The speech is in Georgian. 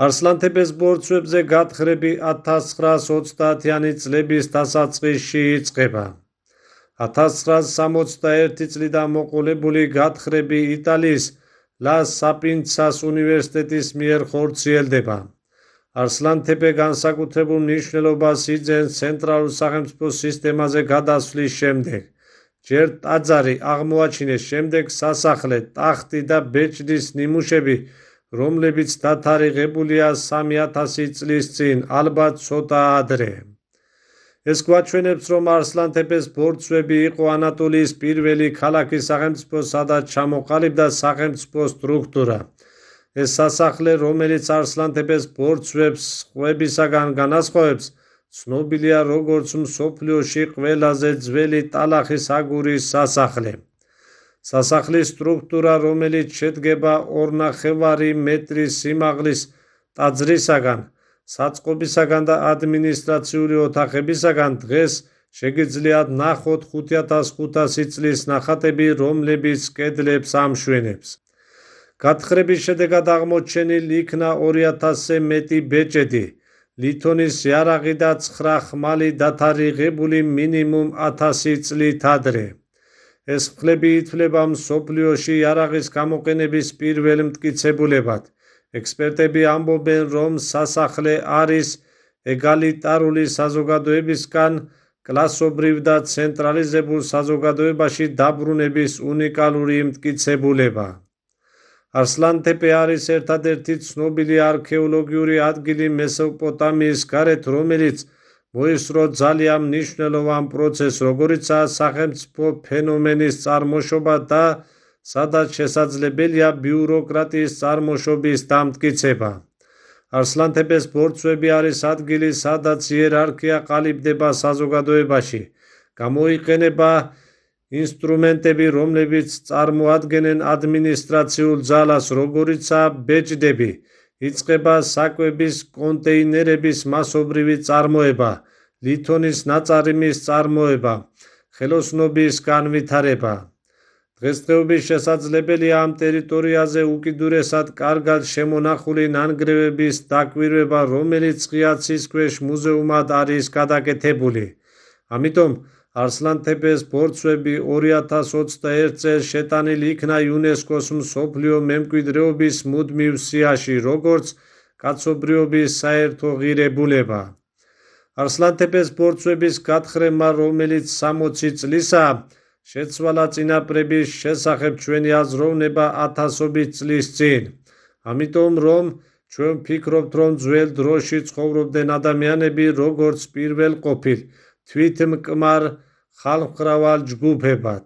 არსლანთეფეს ბორცვებზე გათხრები 1930-იანი წლების დასაწყისში იწყება. 1961 წლიდან მოყოლებული გათხრები იტალიის ლა საპიენცას უნივერსიტეტის მიერ ხორციელდება. არსლანთეფე განსაკუთრებულ მნიშვნელობას იძენს ცენტრალურ სახელმწიფო სისტემაზე გადასვლის შემდეგ. ჯერ ტაძარი აღმოაჩინეს, შემდეგ სასახლე, ტახტი და ბეჭდის ნიმუშები, რომლებიც დათარიღებულია 3000 წლის წინ, ალბათ ცოტა ადრე. ეს გვაჩვენებს, რომ არსლანთეფეს ბორცვები იყო ანატოლიის პირველი ქალაქი სახელმწიფო, სადაც ჩამოყალიბდა სახელმწიფო სტრუქტურა. ეს სასახლე, რომელიც არსლანთეფეს ბორცვებს სხვებისაგან განასხვავებს, ცნობილია როგორც მსოფლიოში ყველაზე ძველი ტალახის აგურის სასახლე. სასახლის სტრუქტურა, რომელიც შედგება 2,5 მეტრის სიმაღლის ტაძრისაგან, საწყობისაგან და ადმინისტრაციული ოთახებისაგან, დღეს შეგიძლიათ ნახოთ 5500 წლის ნახატები, რომლებიც კედლებს ამშვენებს. გათხრების შედეგად აღმოჩენილ იქნა 2000-ზე მეტი ბეჭედი, ლითონის იარაღი და 9 ხმალი დათარიღებული მინიმუმ 1000 წლით ადრე. ეს მხლები ითვლება მსოფლიოში იარაღის გამოყენების პირველ მტკიცებულებად. ექსპერტები ამბობენ, რომ სასახლე არის ეგალიტარული საზოგადოებისგან კლასობრივ და ცენტრალიზებულ საზოგადოებაში დაბრუნების უნიკალური მტკიცებულება. არსლანთეფე არის ერთადერთი ცნობილი არქეოლოგიური ადგილი მესოპოტამიის გარეთ, რომელიც მოისურვო ძალიან მნიშვნელოვან პროცესს, როგორიცაა სახელმწიფო ფენომენის წარმოშობა და სადაც შესაძლებელია ბიუროკრატიის წარმოშობის დამტკიცება. არსლანთეფეს ბორცვები არის ადგილი, სადაც იერარქია ყალიბდება საზოგადოებაში. გამოიყენება ინსტრუმენტები, რომლებიც წარმოადგენენ ადმინისტრაციულ ძალას, როგორიცაა ბეჭდები. იწყება საკვების კონტეინერების მასობრივი წარმოება, ლითონის ნაწარმის წარმოება, ხელოსნობის განვითარება. დღესდღეობით შესაძლებელია ამ ტერიტორიაზე უკიდურესად კარგად შემონახული ნანგრევების დაკვირვება, რომელიც ღია ცის ქვეშ მუზეუმად არის გადაკეთებული. ამიტომ არსლანთეფეს ბორცვები 2021 წელს შეტანილი იქნა იუნესკოს მსოფლიო მემკვიდრეობის მუდმივ სიაში, როგორც კაცობრიობის საერთო ღირებულება. არსლანთეფეს ბორცვების გათხრებმა, რომელიც 60 წლისაა, შეცვალა წინაპრების შესახებ ჩვენი აზროვნება ათასობით წლის წინ. ამიტომ, რომ ჩვენ ვფიქრობთ, რომ ძველ დროში ცხოვრობდნენ ადამიანები, როგორც პირველყოფილ თვითმკმარ ხალხმრავალ ჯგუფებად.